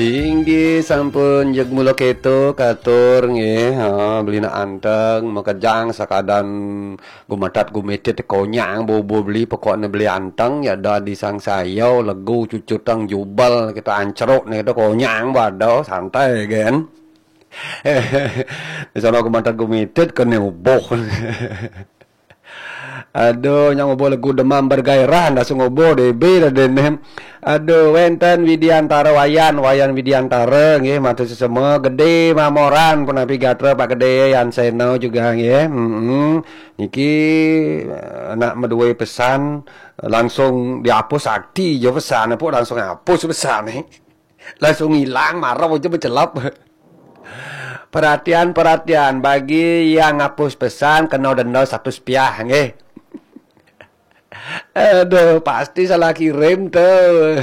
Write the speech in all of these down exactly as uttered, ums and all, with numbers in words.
Inggih sampun jeg mula keto katur nggih. Ha, beli nak anteng makejang sakadan gumetat gumitit konyang bobo beli pokokne beli anteng ya da di sang sayau legu cucutang jubel kita ancruk ne kita konyang bado santai gen. Di sono gumetat gumitit kene ubuh. Aduh, nyang ubuh legu demam bergairah, ndak sing ubuh D B dah dene. Aduh, wenten Widiantara Wayan, Wayan Widiantara nggih, matur sesama Gede Mamoran, punapi gatra Pak Gede Yan Seno juga nggih. Heeh. Niki eh, nak medue pesan langsung dihapus sakti jo pesan apa langsung hapus pesan nih. Langsung hilang marah aja mencelap. Perhatian, perhatian bagi yang ngapus pesan kena denda seratus piah nggih. Aduh, pasti salah kirim tuh.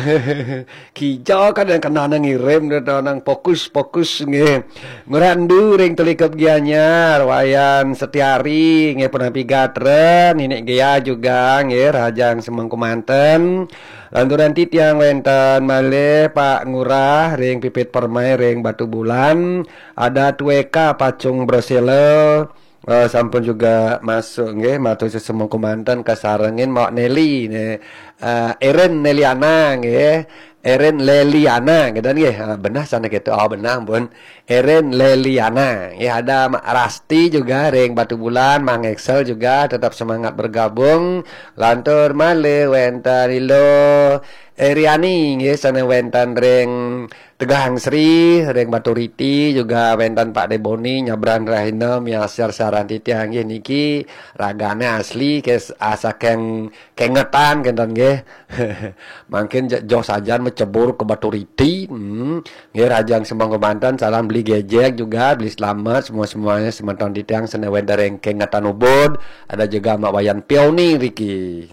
Kijau kan yang kena nang ngirim tuh, tuh, nang fokus-fokus nggih. Ngurandu ring Telikup Gianyar, Wayan Setiari nggih, punapi gatra, Ninik Gea juga nggih, Rahajang Semengku Manten. Lanturan titiang wenten malih Pak Ngurah ring Pipit Permai ring Batu Bulan, ada Tueka Pacung Brosela, eh, sampun juga masuk nggih, matur sesama kumanten kasarengin Mak Nelly ne. Eh, Erin Neliana nggih. Erin Leliana gitu nggih. Ah, benah sana gitu. Oh, benah pun. Erin Leliana. Nggih, ada Mak Rasti juga ring Batu Bulan, Mang Excel juga tetap semangat bergabung. Lantur malih wenten Ilo Eriani nggih sana wenten ring Tegang Sri, ring Baturiti juga wenten Pak Deboni, Nyabran Rahina, miasar saran titiang nggih niki ragane asli kes asakeng kengetan kenten nggih. Mangkin joh sajan mecebur ke Baturiti. Hmm. Nggih Rahajang Semengku Manten, salam beli gejek juga, beli selamat semua-semuanya semeton titiang sene wenten ring kengetan Ubud, ada juga Mak Wayan Pioni riki.